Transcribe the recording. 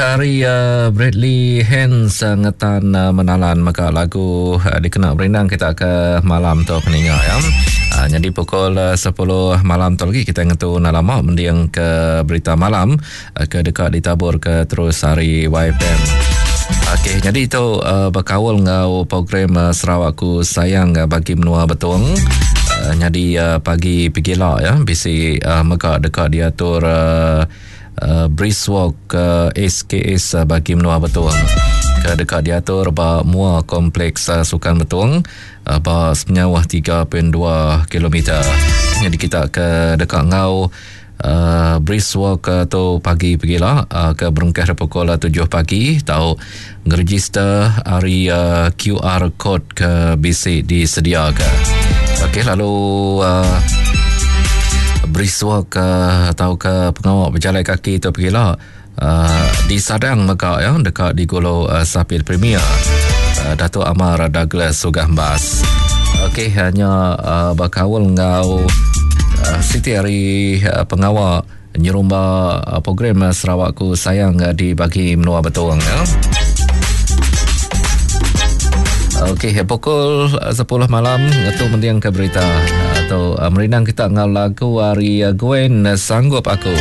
Ari Bradley Hans ngetan menalan mega lagu dikena berindang kita ke malam tu peninga ya. Nyadi pukul 10 malam tu lagi kita ngetu enda lama mending ke berita malam ke deka ditabur ke terus ari YFM. Okey, nyadi tu bekaul enggau program Sarawakku Sayang bagi menua Betong. Nyadi pagi pegila ya bisi mega deka diatur Brisk Walk SKS bagi menua Betong ke deka diatur ba mua Kompleks Sukan Betong ba sepenyauh 3.2 kilometer. Nyadi kita ke deka enggau Brisk Walk tu pagi pegila ke berengkah ari pukul 7 pagi tau ngeregister ari QR code ke bisi disediaka. Okey lalu uh, berisua ke atau ke pengawa berjalai kaki tu pegila uh, disadang mega ya deka digulu uh, Sapit Premier uh, Datuk Amar Douglas Sugah Mbas. Okey hanya uh, berkaul enggau uh, siti hari uh, pengawa Nyerumba program Sarawakku Sayang di bagi menua Betong. Ya. Okey, pukul 10 malam ngetu mending ke berita atau merindang kita enggau lagu ari Gwen Sanggup Aku.